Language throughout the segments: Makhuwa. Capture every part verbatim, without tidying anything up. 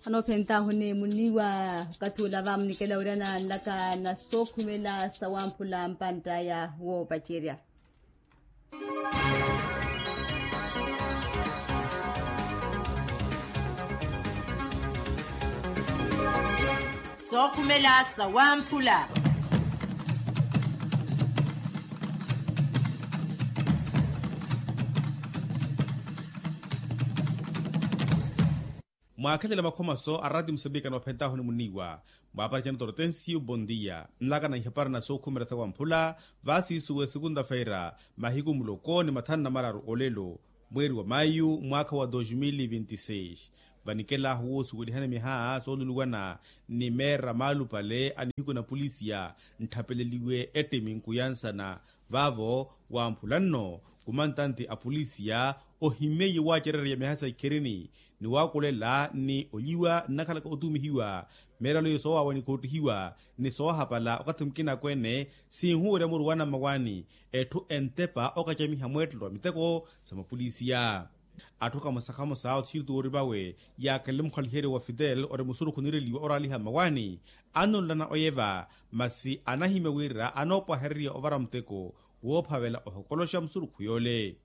Anoophentahuni muniiwa okathi ula vaamunikela wira naanlaka na sookhumela sawamphula mpantt'aya woopacerya. Sookhumela sawamphula. Mwaakhelela makhomaso a raati musambika anoophentahuni muniiwa, mwaapara cana tortensiu bondia nlaka na ihapari na sookhumela sawamphula. Vaasiisuwe sekunta-feira mahiku muloko ni mathanu na mararu olelo, mweeri wa mayu mwaakha wa dos mil vinti seis, vanikelahu woosuwelihana miha sooluluwana ni meera maalupale a nihiku na polisiya ntthapeleliwe ettimi nkuyansana. Vaavo wamphula nno kumantanti a polisiya ohimmeiye waacererya miha sa ikhirini ni waakulela ni olyiwa nnakhalaka otumihiwa meeralo iyo soowaawa ni koottihiwa ni soohapala okathi mukina akweene sinhuwerya muruwana mmawaani. Etthu entepa okacamiha mweettelo wa miteko sa mapolisiya. Atthu kamosa kamosa othiyutu ori vawe yaakhelele mukhaliheryo wa fitel ori musurukhu niireliwa oraaliha mmawaani, anululana oyeva masi anahimya wira anoopwahererya ovara muteko woophavela ohokoloxa musurukhu yoole.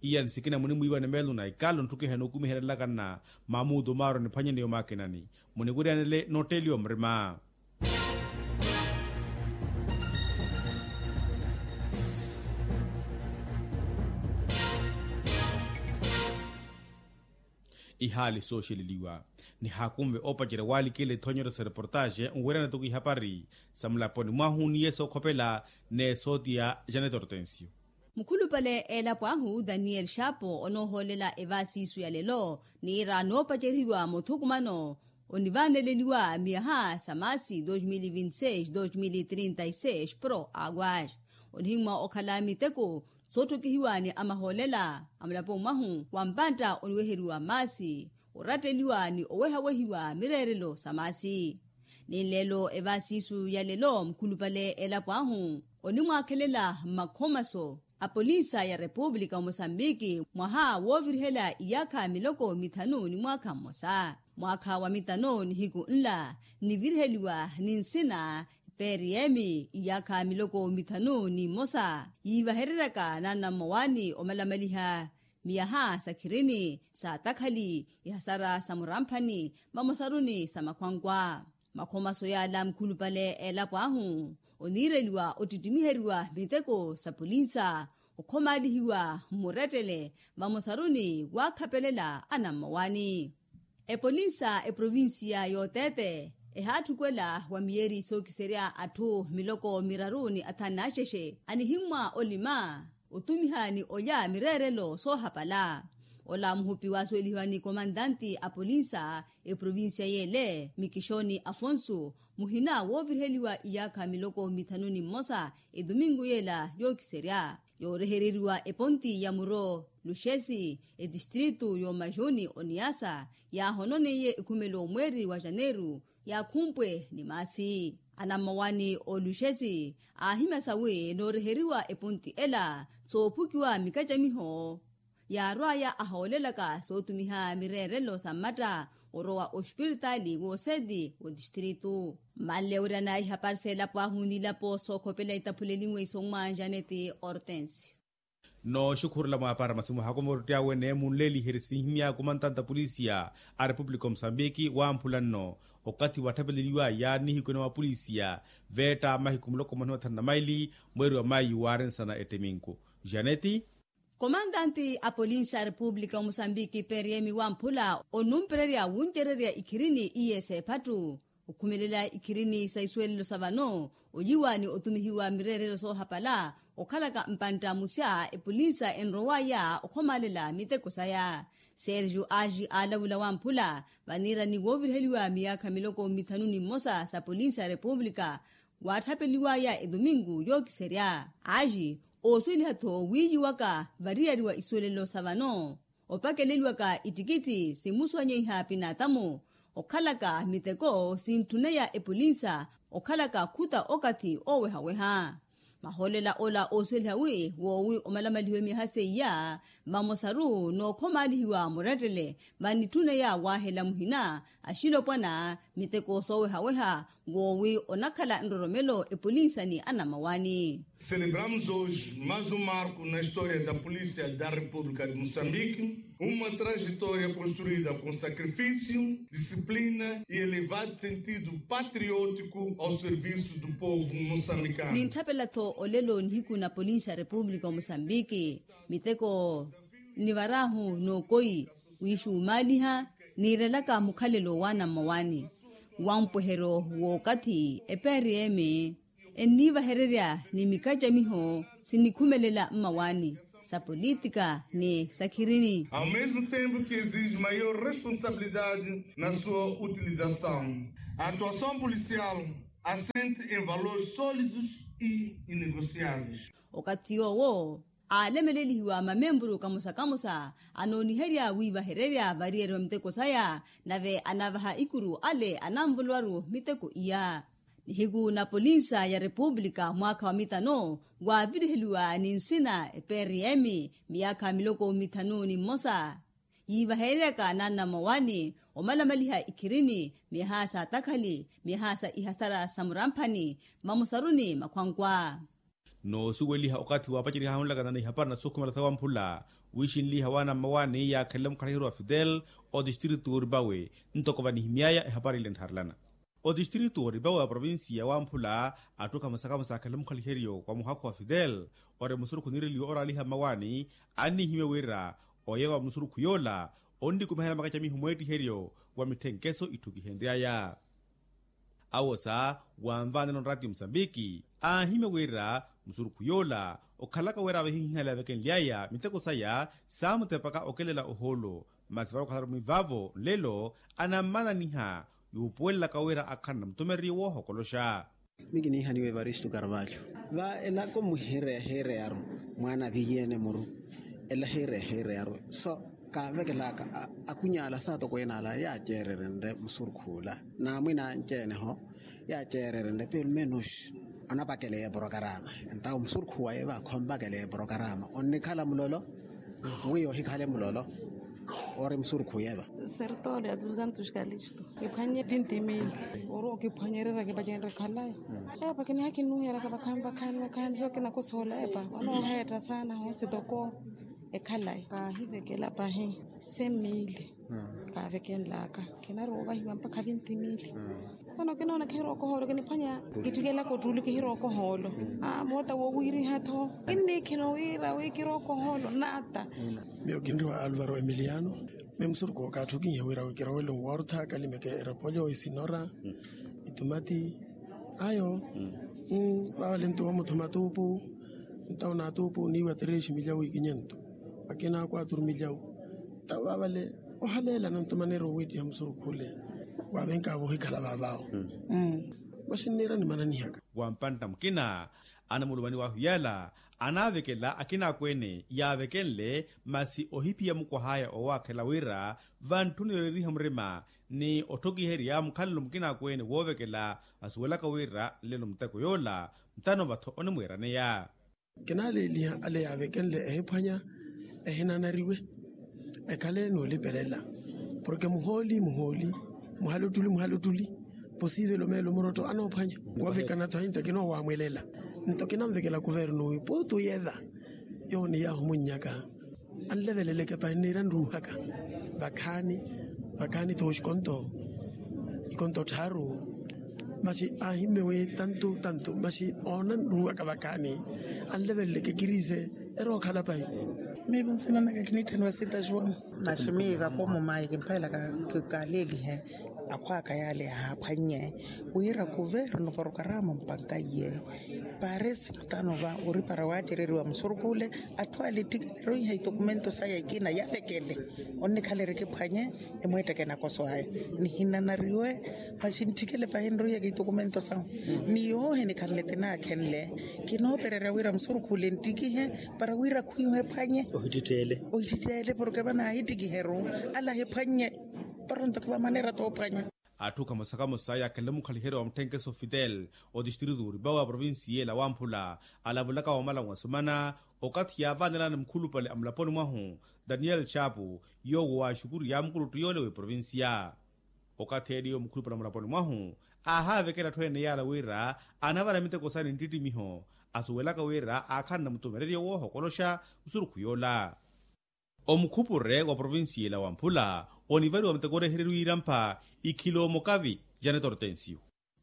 Iya ni sikina munimwiiwa ni meelo na ikalo ntthukiha enookumiherelaka nna mamuutu maaro niphwanyeneyo maakinani muniwiryanele notteliwa murima. Ihaali sooxeleliwa nihaakunve oopacerya waalikela ithonyero sa reportaxe nwerya natoko ihapari sa mulaponi mwahu ni yeesookhopela n'esooti ya janet hortensio. Mukhulupale eelapo ahu daniel xapo onoohoolela evaasiisu ya lelo niira noopacerihiwa muthukumano onivaaneleliwa miyaha sa maasi dos mil vinti seis dos mil trinta e seis pro aguas onihimwa okhala miteko soottokihiwa ni amahoolela a mulapo mwahu wa mpantta oniweheriwa maasi oratteliwa ni owehawehiwa mireerelo sa maasi. Ni nlelo evaasiisu ya lelo mukhulupale elapo ahu onimwaakhelela mmakhomaso a polinsa ya repupulika wa mosambiki mwaha woovirihela iyaakha miloko mithanu ni mwaakha mmosa. Mwaakha wa mitano nihiku nla niviriheliwa ni nsina prm iyaakha miloko mithanu ni mmosa yiivahereryaka nanna mmawaani omalamaliha miyaha sa khirini sa takhali ihasara sa muramphani mamosaruni sa makhwankwa. Makhomaso yaala mukhulupale eelapo ahu oniireliwa ottittimiheryiwa miteko sa polinsa okhomaalihiwa mmurettele vamosaruni waakhapelela anammawaani. Epolinsa eprovinsiya y'oteete ehaatthukela wa miyeeri sookiserya atthu miloko miraru ni athanu n'axexe anihimmwa olima otumiha ni olya mireerelo soohapala. Ola muhupi waasuwelihiwa ni komantanti a polinsa eprovinsiya y'ele mikixoni afonso muhina wooviriheliwa iyaakha miloko mithanu ni mmosa etumingu y'ela yookiserya yoorehereriwa eponti ya muro luxesi etistritu y'omajuni oniasa yaahononeiye ekhumelo mweeri wa janeru yaakhumpwe ni maasi. Anammawaani oluxesi aahimya sawi nooreheriwa eponti ela soophukiwa mikacamiho yaarwaya ahoolelaka sootumiha mireerelo sa mmatta orowa ospiritaali wooseeti w'otistritu. Mmanle wira naahihaparisa elapo ahu n'ilapo sookhopela itaphulelinwe isommwa janeti hortensio. Nooxukhurela mwaapara masi muhaakume oruttiya wene munleliherye sinhimya kumantanta polisiya a repupulika omusambiki wamphula nno okathi watthapeleliwaya nihiku ene wa polisiya veetta mahiku muloko mwahi mathanu na maili mweeri wa mayu waari nsana ettiminku janeti. Komantanti a polinsi a repupulika omusambiki prm wamphula onumpererya wuncererya ikhirini iye s'ephattu okhumelela ikhirini sa isuwelelo sa vano olyiwa ni otumihiwa mireerelo soohapala okhalaka mpantta musya epolinsa enrowaya okhomaalela miteko saya. Sergio aji aalavula wamphula vaniirani wooviriheliwa miyaakha miloko mithanu ni mmosa sa polinsi a repupulika waatthapeliwaya etumingu yookiserya aji oosuweliha-tho wiiyiwaka variyariwa isuwelelo sa vano opakeleliwaka ittikitti simusuwanyeiha pinaatamu okhalaka miteko sintthuneya epolinsa okhalaka khuta okathi oowehaweha. Mahoolela ola oosuweliha wi woowi omalamalihiwe miyaha seiya vamosaru n'okhomaalihiwa murettele, vanitthuna ya waahela muhina axilopwana miteko soowehaweha woowi onakhala nroromelo epolinsa ni anamawani. Celebramos hoje mais um marco na história da polícia da república de moçambique, uma trajetória construída com sacrifício, disciplina e elevado sentido patriótico ao serviço do povo moçambicano. Nintthapela-tho olelo nihiku na polinsi ya república o moçambique, miteko nnivar'ahu n'okoyi wiixumaaliha, niirelaka mukhalelo wa anammawaani wa mpweheryo w'okathi epeeriyeme enniivahererya ni mikacamiho sinnikhumelela mmawaani sa politika ni sakhirini. Ao mesmo tempo que exige maior responsabilidade na sua utilização, a atuação policial assente em valores sólidos e inegociáveis. Okathi yoowo aalemelelihiwa mamempuru kamosa-kamosa anooniherya wiivahererya variyeri va miteko saya, nave anavaha ikuru ale ananvolowaru miteko iya. Nihiku na polinsa ya república mwaakha wa mitano waaviriheliwa ni nsina eprm miyaakha miloko mithanu ni mmosa yiivahereryaka n'anammawaani omalamaliha ikhirini miyaha sa takhali miyaha sa ihasara sa muramphani mmamusaruni makhwankwa. Noosuweliha okathi waapacerihahunlakana na ihapari na sookhumela sawamphula wiixinliha w'anammawaani yaakhelele mukhaliheryo wa fidel otistritu oripawe ntoko vanihimy'aya ehapari ile nttharelana. Otistritu oripawe wa provincia wamphula atthu khamosa-khamosa aakhelele mukhaliheryo wa muhakhu wa fidel ori musurukhu niireliwe oraaliha mmawaani annihimya wira oyeva wa musurukhu yoola onnikumiherya makacamiho mweettiheryo wa mitthenkeso itthukihenry'aya. Awosa wanvaanela onraatiyo musambiki aahimya wira musurukhu yoola okhalaka wira avehihihala yavekenly'aya miteko saya saamutepaka okelela ohoolo. Masi vale okhalari mwivaavo nlelo anammananiha yuupuwelelaka wira akhala namutumereriye woohokoloxa. Miyo kiniihaniwa evaristo carvalho va elako muhireya hireyaru mwaana avihiye-ene muru ela hireya hireyaru so kaavekelaka akuny'ala saatokweene ala yaaceererenre musurukhu ola n'amwina anci-ene ho yaaceererenre peru menos onapakeleya eporokarama entawo musurukhu waye va khompakeleya eporokarama onnikhala mulolo mwiyo ohikhale mulolo ori musurukhu yeva. Sertole ya duzentos kalisto ephwanye tintimili ori okiphwanyererya kipacenre khalayi epa kinihakinuheraka vakhaani vakhaani vakhaani so kinakosola epa onooheetta saana hoosi toko ekhalayi kaahivekela pahi semili kaavekenlaka kinarowa ovahiwa mpakha vintimili. Vano kinoona kihirooka ohoolo kiniphwanya kittikelaka ottuli kihirooka ohoolo moota woowiiriha-tho kinniikhina owiira wi kirooka ohoolo naata. Miyo kinriwa alvaro emiliano me musurukhu okaatthi okinyiha wira wi kirowele nwarutha kalimeke erepolyo isinora itumati ayo. Vaavale nto wamuthuma tuupu ntawo na tuupu niiwa terexi milyawu ikinye nto akina kwaturu milyawu ntawo vaavale ohaleela nantumaneeri owiittiha musurukhu ole waavenkavo ohikhala vaavaawo. Masi nniira nimananihaka wampantta mukina anamulumani wahu yaala anaavekela akina akweene yaavekenle masi ohiphiya mukwah'aya oowaakhela wira vantthuni yoreeriha murima ni otthokiherya mukhalelo mukina akweene woovekela asuwelaka wira nlelo muteko yoola ntano va-tho onimwiiraneya. Kinaaleeliha ale yaavekenle ehiphwanya ehinanariwe ekhale n'ulipelela porke muhooli muhooli muhalottuli muhalottuli posivelo meelo murotto anoophwanya woovekana-tho ahinta kinoowaamwelela nto kinanvekela kuvernu wi puutu yeva yowo ni yaahumunnyaka anleveleleke pahi nniira nruuhaka vakhaani vakhaani-tho oxikonto ikonto tthaaru masi aahimme wi tantu tantu masi oona nruuhaka vakhaani anleveleleke kirise erookhala pahi. Miyo nsina naka kiniitthaniwa sita juan. Masi miyo vakomo mayi kimphelaka kikaleelihe akhw'aka yaale ahaaphwannye wira kuvernu porokarama mpanka iye paresi mutano va oripara waacereriwa musurukhu ole atthu ale ettikeleroiha itokumento saya ikina yavekele onnikhalerikiphwanye emweetteke nakoso aya nihinanariwe masi ntthikele pahi nroiyaka itokumento sahu ni yoohi nikhanle tinaakhenle kinoopererya wira musurukhu ole nttikihe para wira khwiihu ephwanye ohittittele porke vanaahittikiheru ale ahiphwannye para nto kivamaneera toophwanya. Atthu kamosa kamosa yaakhenle mukhaliheryo wa mutthenkeso fitel otistritu oripawa provincia ela wamphula, alavulaka wamala wasumana okathi yaavaanelani mukhulupale amulaponi mwahu, daniel chapu, yoowo waaxukuriya mukuluttu yoole w'eprovincia. Okathi eeliyo mukhulupale amulaponi mwahu, aahaavekela atthu ene yaala wira anavara miteko saani nttittimiho, asuwelaka wira aakhanle mutumereryo woohokoloxa musurukhu yoola. Omukhupure wa provincia ela wamphula onivariwa muteko orehereriwa irampha ikhiloomo kavi, janet hortensio.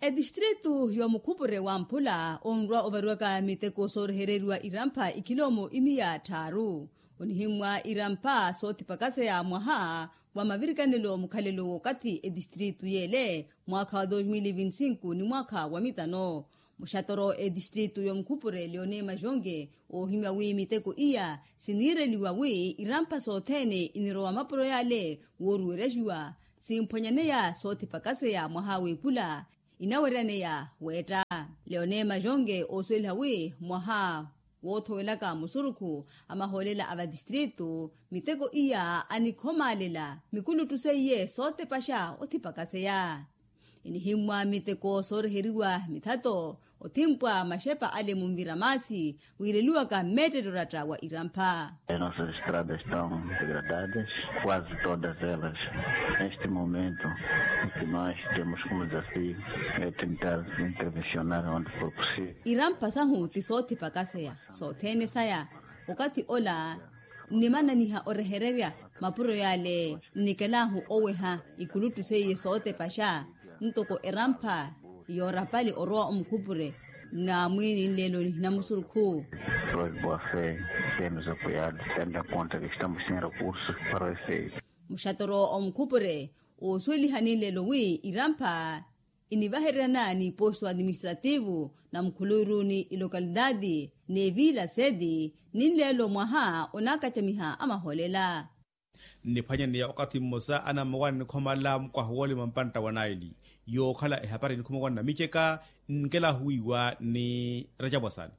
Etistritu y'omukhupure wamphula onrwa ovariwaka miteko soorehereriwa irampha ikhiloomo imiya tthaaru, onihimmwa irampha soothipakaseya mwaha wa mavirikanelo mukhalelo w'okathi etistritu yeele mwaakha wa dos mil vinti sinku ni mwaakha wa mitano. Muxatoro etistritu y'omukhupure leone majonge oohimya wi miteko iya siniireliwa wi irampha sothene inirowa mapuro yale wooruweryaxiwa, simphwanyaneya soothipakaseya mwaha w'epula inaweryaneya weetta. Leone majonge oosuweliha wi mwaha woothowelaka musurukhu a mahoolela a vatistritu miteko iya anikhomaalela mikuluttu seiye sootepaxa othipakaseya. Inihimmwa miteko sooreheriwa mithato othimpwa maxepa ale munvira maasi wiireliwaka mmeettetto oratta wa irampha. As nossas estradas estão degradadas, quase todas elas neste momento o que nós temos como desafio é tentar intervencionar onde for possível. Irampha sahu ti soothipakaseya sothene saya. Okathi ola nnimananiha orehererya mapuro yale nnikelahu oweha ikuluttu seiye sootepaxa ntoko erampha yoorapali orowa omukhupure. Namwiini nlelo nihina musurukhu. Proibofe temos apoiado tendo em conta que estamos sem recursos para o efeito. Muxatoro omukhupure oosuweliha ninlelo wi irampha inivahereryana n'iposto administrativu na mukhuluuru ni ilokalidadi n'evila sedi ninlelo mwaha onaakacamiha a mahoolela. Nniphwanyaneya okathi mmosa anammawaani nikhomalela mukwaha woolima mpantta wa naili yookhala ehapari enikhuma wa nnamiceka nkelahuwiwa ni racapwasani.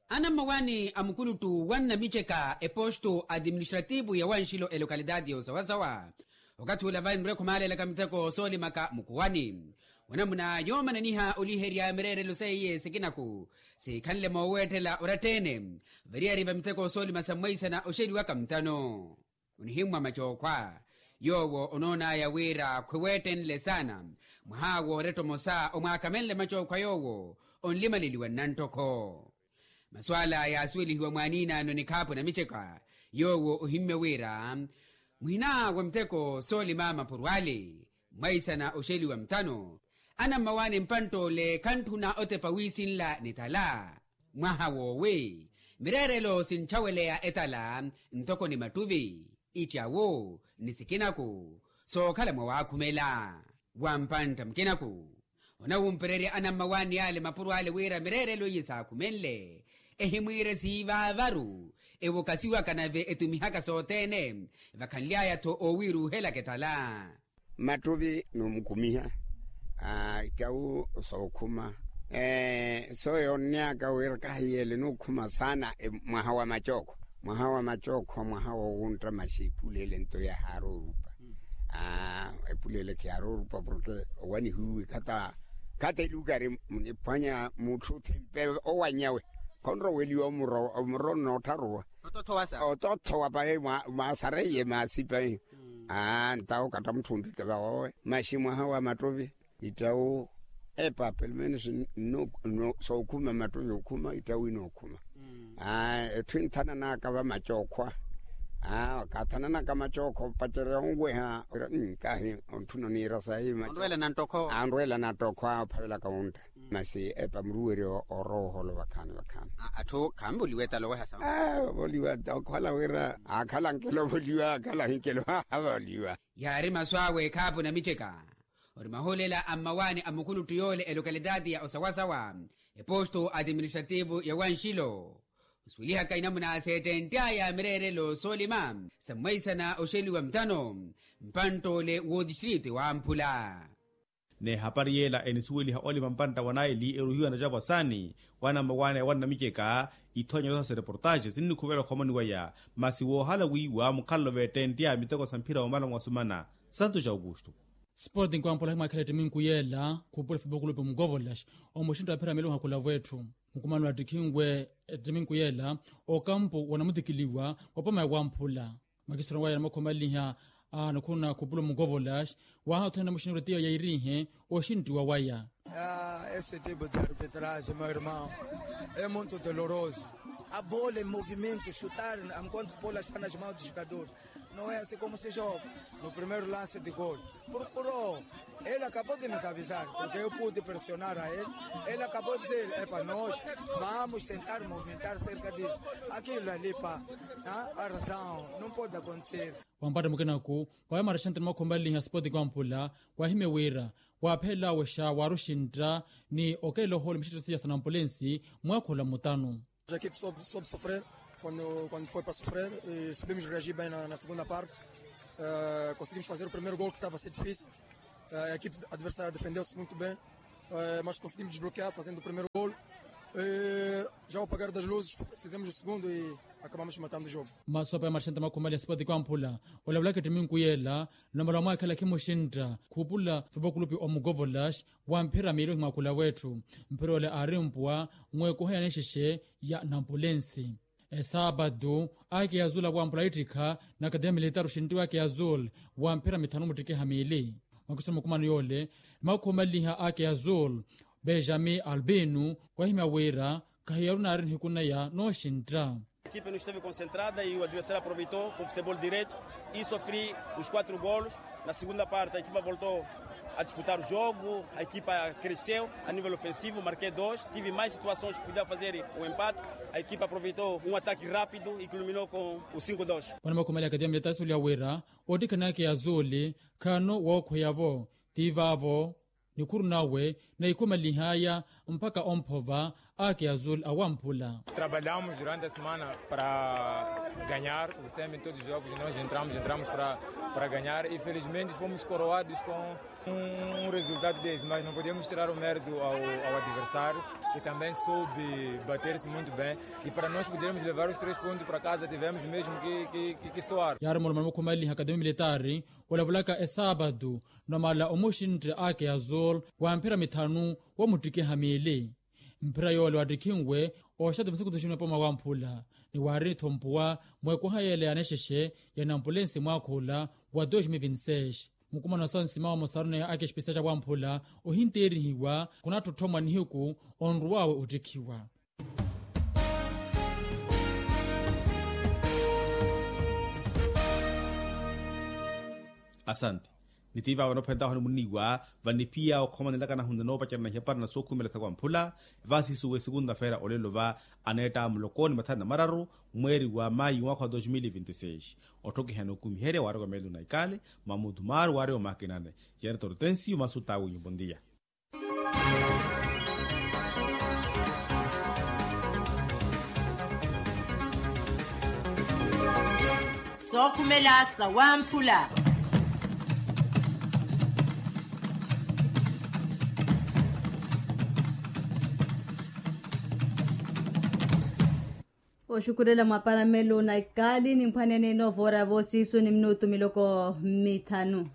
Anammawaani a mukuluttu wa nnamiceka eposto administrativu ya wanxilo elokalidadi y'osawasawa okathi ula vayi nrwekho maalelaka miteko soolimaka mukhuwani wanamuna yoomananiha oliherya mireerelo seiye sikinaku sikhanle mooweetthela oratta-ene variyari va miteko soolima sa mwaisana oxeliwaka mutano. Onihimmwa macookhwa yoowo onoon'aya wira khwiweettenle saana mwaha wooretta omosa omwaakamenle macookhwa yoowo onlimaleliwa nnanttokho. Masu ala yaasuwelihiwa mwaaniinaano nikhaapu namiceka yoowo ohimmye wira muhina wa miteko soolima mapuro ale mwaisana oxeliwa mutano anammawaani mpantt'ole khantthuna otepa wiisinla nitala mwaha woowi mireerelo sintthaweleya etala ntoko ni mattuvi ittyawu ni sikinaku sookhala mwawaakhumela wa mpantta mukinaku. Onawumpererya anammawaani ale mapuro ale wira mireerelo iye saakhumenle ehimwiire siivaavaru ewokasiwaka nave etumihaka sothene vakhanly'aya-tho oowiiruuhelaka etala. Mattuvi noomukumiha ittyawu sookhuma sooyoonnyaka wira kahiyeele nookhuma saana mwaha wa macookho mwaha wa macookho mwaha woowuntta maxi epula ele nto yahaaroorupa. Epula ele khiyaaroorupa porke owanihiwe khata khata elukari muniphwanya mutthu othimpe owanyawe khonroweliwa omuro omuro nnoottharuwa otothowa pahi mwaasareiye maasi pahi. Ntawo katta mutthu onrike vawowe maxi mwaha wa mattovi ittawu epa pelumenus sookhuma mattovi okhuma ittawu inookhuma etthu inthananaka vamacookhwa. Kaathananaka macookhwa opacerya onweha kahi ontthuna oniira sahi onrwela nanttokhwa ophavelaka wuntta masi epa muruweryo orooholo vakhaani vakhaani. Atthu khanvoliwa etala oweha sawa ovoliwa okhala wira aakhala nkelo ovoliwa aakhala hinkelo avoliwa. Yaari masu awe ekhaapu namiceka ori mahoolela a mmawaani a mukuluttu yoole elokalitaati ya osawasawa eposto administrativu ya wanxilo osuwelihaka inamuna seettentt'aya mireerelo soolima sa mwaisana oxeliwa mutano mpantt'ole w'otistritu ewamphula. N'ehapari yeela enisuweliha olima mpantta wa naili eruhiwa na capwasani wa nammawaani wa nnamiceka. Ithoonya noosa sa reportaxe sinnikhuvela okhomoni waya masi woohala wiiwa mukhalelo veettentte a miteko sa mphira womala mwasumana santo ja aukusto. Sporting kwampula himwaakhela ettiminku yeela khupula fibokulupi omukovolax omuxintta wa phiramili ohakula vwetthu. Mukumano attikhinwe ettiminku yeela okampu wanamutikiliwa wapoma ya wamphula. Makisiro waya namakhomaleliha a nukhuna khupula omukovolax waha othene namuxinirwe tiyo yairiihe oxinttiwa waya. Esse tipo de arbitragem meu irmão é muito doloroso. A bola em movimento chutar enquanto a bola está nas mãos do jogador. Não é assim como se joga. No primeiro lance de gol procurou. Ele acabou de nos avisar porque eu pude pressionar a ele. Ele acabou de dizer é para nós vamos tentar movimentar cerca disso. Aquilo ali pá, a razão não pode acontecer. Wampatta mukenaku waya marexantte namakhomaleliha spoti kwampula wahimye wira waaphelelawe xa waaruxintta ni okelela ohoolo mixittosi ya sanampulensi mwaakhola mutanu. Equipe soube sofrer quando foi para sofrer e soubemos reagir bem na segunda parte. Conseguimos fazer o primeiro gol que estava a ser difícil. A equipe adversária defendeu-se muito bem, mas conseguimos desbloquear fazendo o primeiro gol. Já ao apagar das luzes fizemos o segundo e acabamos matando o jogo. Masopa ya marexantte makhumali ya sipoti kwamphula olavulaka ettiminku yeela. Namala wamwaakhela khimuxintta khupula fipokulupi omukovolax wa mphira miili ohimwakula wetthu. Mphira ole aari mpuwa mweekuha ya nixexe ya nampulensi. Esaapatu ake ya zul awamphula ittikha na akademia militar oxintti wake ya zul wa mphira mithanu muttikiha miili. Mwakiso mukumano yoole nimakhumaleliha ake ya zul benjamin albino wahimya wira khahiyaru naari nihiku naya nooxintta. Equipe no esteve concentrada e o adversário aproveitou com futebol direto e sofri os quatro golos. Na segunda parte a equipa voltou a disputar o jogo. A equipa cresceu a nível ofensivo marquei dois. Tive mais situações que podia fazer o empate. A equipa aproveitou um ataque rápido e culminou com o cinco dois. Wana makhumali akademia militar suli ya wira ottikhanaka ya zuli khano wookhweya-vo. Ti vaavo nikhuru nawe naikhumalihaya mpakha omphova ake ya zul awamphula. Trabalhamos durante a semana para ganhar o semi em todos os jogos nós entramos entramos para ganhar e felizmente fomos coroados com um resultado desse mas não podemos tirar o mérito ao adversário que também soube bater-se muito bem e para nós podermos levar os três pontos para casa tivemos mesmo que soar. Yaari mulomano mukhumaleliha akademia militari olavulaka esaapatu namala omuxintte ake ya zul wa mphira mithanu wa muttikiha miili. Mphira yoole wattikhinwe oxatu visukutu xinwe poma wamphula ni waari-tho mpuwa mweekuha yeela ya nexexe ya nampulensi mwaakha ola wa dois mil vinti seis. Mukumano wa sansima wa mosaruneya ake exipista xa wamphula ohinteerihiwa khunattotthommwa nihiku onruwawe ottikhiwa. Asante. Ni tiva vanophentaho ni muniwa vanipiya okhomanelaka nahunza noopacerana ihepara na sookhumela sa kwamphula. Vasiisuwe segunda-feira olelo va aneetta mulokoni mathani na mararu mweeri wa mayi mwaakha wa dos mil vinti seis. Otthokihana okumiherya waari wa melu na ikali mamutu maaru waari wa makinane. Yari tortensiyo masu tawe nyumbondiya. Sookhumela sa wamphula. Oxukulela mwaparamelo na ikali nimphwanene noovora voosiisu ni minutu miloko mithanu.